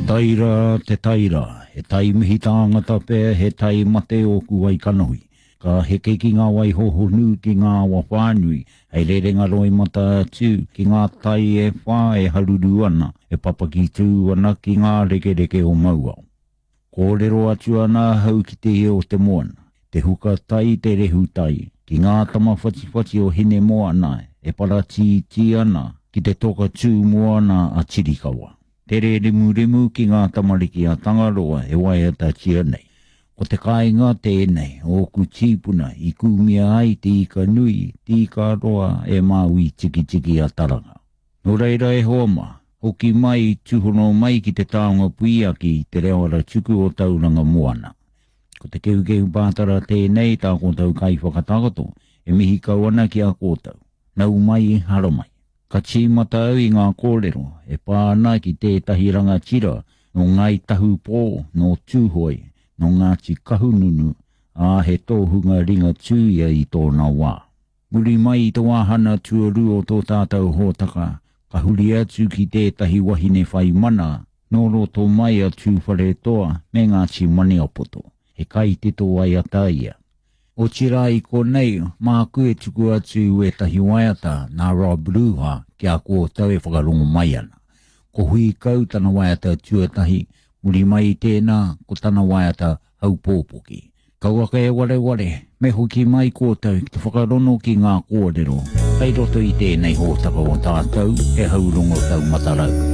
tai rā, te tai rā, he tai mihi tāngata pea, he tai mate ōku wai kanohi. Ka heke ki ngā wai hohonu, ki ngā awa whānui, hei rerenga roimata atu ki ngā tai e whā e haruru ana, e papaki tū ana ki ngā rekereke o Mauao. Kōrero atu ana ahau ki te ia o te moana, te huka tai, te rehu tai, ki ngā tama whatiwhati o Hinemoana e paratītī ana ki te toka tū moana a Tirikawa. Tere rimurimu ki ngā tamariki a Tangaroa e waiatatia nei. Ko te kāinga tēnei o ōku tīpuna i kūmia ai te ika nui, te ika roa e Māui Tikitiki a Taranga. Nō reira e hoa mā, hoki mai, tūhono mai ki te taonga puiaki i te reo aratuku o Tauranga Moana. Ko te kehukehu pātara tēnei tā koutou kaiwhakatakoto e mihi kau ana ki a koutou. Nau mai, haramai. Ka tīmata au i ngā kōrero e pā ana ki tētahi rangatira nō Ngāi Tahu Pō, nō Tūhoe, nō Ngāti Kahungunu, ā, he tōhunga Ringatū ia i tōna wā. Muri mai i te wāhana tuarua o tō tātou hōtaka, ka huri atu ki tētahi wahine whai mana nō roto mai a Tūwharetoa me Ngāti Maniapoto, he kaitito waiata ia. Otirā i konei, māku e tuku atu wētahi waiata nā Rob Ruha ki a koutou e whakarongo mai ana. Ko Hui Kau tana waiata tuatahi, muri mai i tēnā, ko tana waiata Haupōpoki. Kauaka e wareware, me hoki mai koutou ki te whakarono ki ngā kōrero kei roto i tēnei hōtaka o tātou, He Haurongo Taumata Rau.